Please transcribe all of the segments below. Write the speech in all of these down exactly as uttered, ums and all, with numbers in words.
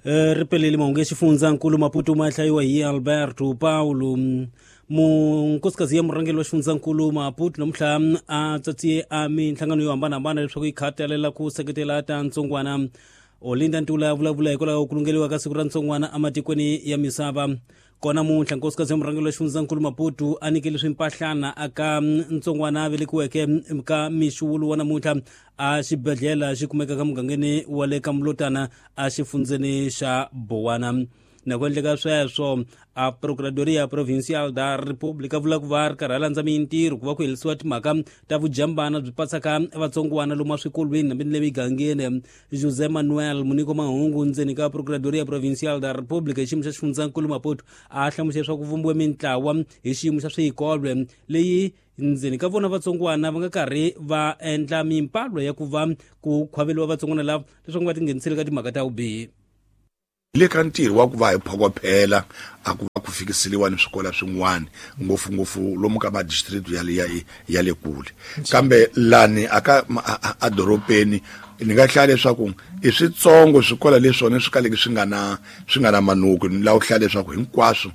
Ri pelele mahungu ya xifundzankulu Maputo ma hlayiwa hi Alberto Paulo. Munkosikazi ya murhangeri wa xifundzankulu Maputo namuntlha a tsatsiye a minhlangano yo hambanahambana leswaku yi khatalela ku seketela ta ntsongwana. Olinda Ntula vulavula hikwalaho ku lungeliwa ka siku ra ntsongwana ematikweni ya misava. Kona muntlha nkosikazi ya murhangeri wa xifundzankulu Maputo a nyikele swimpahlana aka ntsongwana a velekiweke ka mixuwulu wa namuntlha a xibedhlele xi kumekaka mugangeni wa le ka Mlotana a xifundzeni xa Bowana. Na ku endleka sweswo a Procuradoria Provincial da República vula ku va ri karhi a landza mintirho ku va ku herisiwa timhaka ta vujambana byi patsaka vatsongwana lomu eswikolweni hambi ni le migangeni. José Manuel Muniko Mahungu ndzeni ka Procuradoria Provincial da República hi xiyimo xa xifundzankulu Maputo a hlamusela leswaku ku vumbiwe mintlawa hi xiyimo xa swikolo leyi ndzeni ka vona vatsongwana va nga karhi va endla mimpalo ya ku va ku khwaveliwa vatsongwana lava leswaku va tingheniseli ka timhaka ta vubihi. Le ka ntirho wa ku va hi phokophela a ku va ku fikiseliwa ni swikolo swin'wana ngopfungopfu lomu ka madistrict ya le ya, ya le kule, kambe lani aka a dorobeni ni nga hlaya leswaku i switsongo swikolo leswona swi kaleke swi nga na swi nga na manuku. Ni lava ku hlaya leswaku hinkwaswo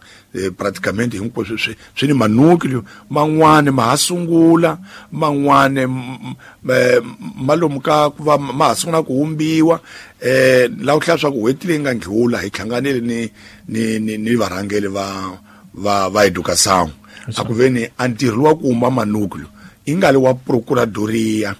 praticamente hinkwaswo swi swi ni manuku man'wani ma ha sungula, man'wani ma lomu ka ku va ma ha sungula ku humbiwa. Eh lava ku hlaya swa ku n'hweti leyi nga ndlula hi hlanganile ni ni ni, ni varhangeri va va va educação a ku veni a ntirho wa ku humba manuku i nga li wa procuradoria,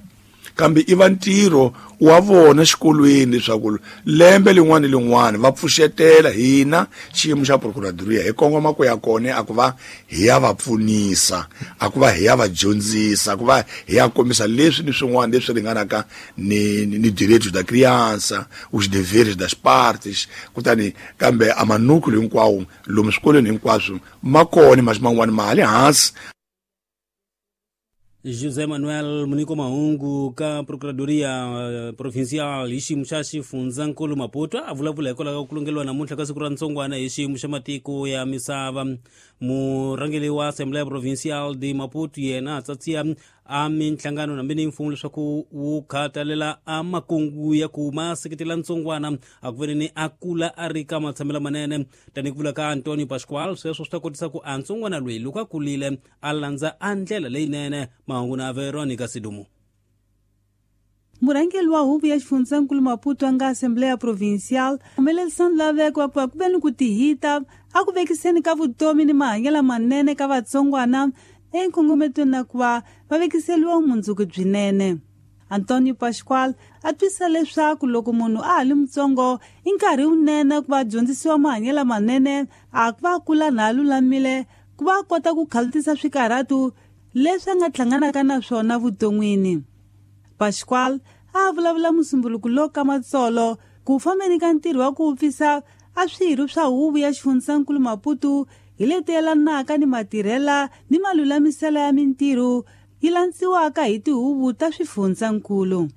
kambe i va ntirho wa vona xikolweni leswaku lembe lin'wana ni lin'wana va pfuxetela hina xiyimo xa procuradoria hi kongoma ku ya kona a ku va hi ya va pfunisa, a ku va hi ya va dyondzisa, a ku va hi ya kombisa leswi ni swin'wana leswi ringanaka ni ni direitos da criança, os deveres das partes. Kutani kambe a manuku hinkwawo lomu swikolweni hinkwaswo ma kona, mas man'wana ma ha le hansi. José Manuel Muniko Mahungu ka Procuradoria Provincial hi xiyimo xa xifundzankulu Maputo a vulavula hikwalaho ka ku lungeliwa namuntlha ka siku ra ntsongwana hi xiyimo xa matiko ya misava. Murhangeri wa Assembleia Provincial de Maputo yena a tsatsiya a minhlangano hambi ni mfumo leswaku wu khatalela a makungu ya ku ma seketela ntsongwana a ku veni ni a kula a ri ka matshamelo manene. Tanihi ku vula ka Antonio Pascual, sweswo swi ta kotisa ku a ntsongwana loyi loko a kulile a landza a ndlela leyinene. Mahungu na Veronica Sidumo. Murhangeri wa huvo ya xifundzankulu Maputo a nga Assembleia Provincial humelerisa nlaveko wa ku va ku ve ni ku tihita a ku vekiseni ka vutomi ni mahanyelo manene ka vatsongwana enkongometweni na ku va va vekiseliwa vumundzuku byinene. Antonio Pascual a twisisa leswaku loko munhu a ha li mutsongo i nkarhi wunene ku va dyondzisiwa mahanyelo manene a ku va kula na a lulamile ku va a kota ku khalutisa swikarhatu leswi a nga hlanganaka na swona vuton'wini. Pascual a vulavula musumbuluko lowu ka matsolo ku fambeni ka ntirho wa ku vupfisa a swirho swa huvo ya xifundzankulu Maputo hi leti yelanaka ni matirhela ni malulamiselo ya mintirho yi landziwaka hi tihuvo ta swifundzankulu.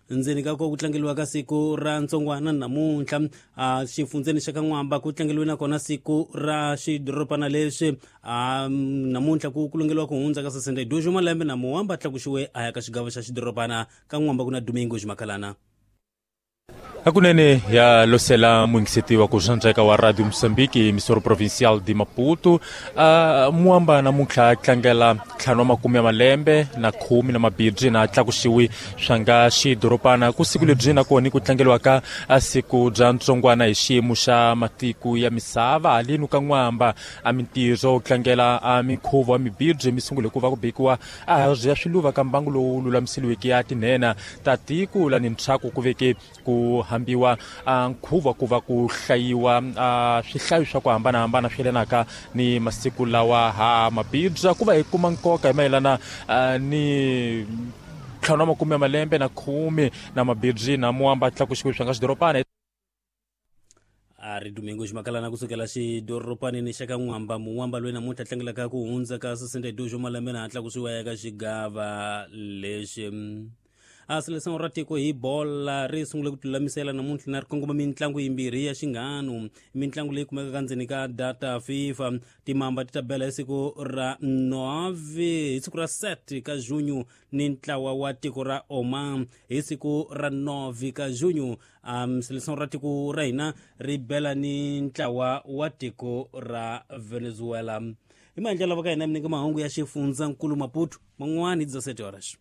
Ndzeni ka ku tlangeliwa ka siku ra ntsongwana namuntlha a xifundzeni xa ka N'wamba ku tlangeliwe nakona siku ra xidorobana lexi a namuntlha ku kulungeliwa ku hundza ka sessenta e dois malembe na Muwamba tlakuxiwe a ya ka xigava xa xidorobana ka N'wamba ku na Domingo Ximakalana. Hakunene ya losela muingiseti wa ku xandzeka wa Radio Moçambique emissora provincial de Maputo uh, Muamba namuntlha tlangela ntlhanu wa makume ya malembe na khume na mabirhi na tlakuxiwi swa nga xidorobana ku siku lebyi nakona ku tlangeliwaka siku bya ntsongwana hi xiyimo xa matiko ya misava haleni ka N'wamba a mintirho tlangela a minkhuvo wa mibirhi mi sungule ku va ku bekiwa a ya swiluva ka mbangu lowu lulamiseliweke ya tinhena ta tiko lani ntshaku ku veke ku hambiwa nkhuvo ku va ku hlayiwa swihlayo swa ku hambanahambana swi yelanaka ni masiku lawa ha mabibya ku va hi kuma nkoka hi mayelana ni ntlhanu wa makume ya malembe na khume na mabibyi na Muamba tlakuxiwe swa nga xidorobana. A ri Domingo Ximakalana kusukela xidorobanini xa ka N'wamba. Muwamba loyi namuntlha tlangelaka ku hundza ka sessenta e dois malembe na tlakusiwa eka xigava lexi. A seleção ra tiko hi bola ri sungule ku tilulamisela namuntlha na ri kongoma mitlangu yimbirhi ya xinghanu. Mitlangu leyi kumekaka ndzeni ka data FIFA. Timamba ti ta bela hi siku ra nove, hi siku ra sete ka junho ni ntlawa wa tiko ra Oman hi siku ra nove ka junho. Um seleção ra tiko ra hina ri bela ni ntlawa wa tiko ra Venezuela. Hi maendlelo lava ka hina mi nyika mahungu ya xifundzankulu Maputo man'wani hi dezessete horas.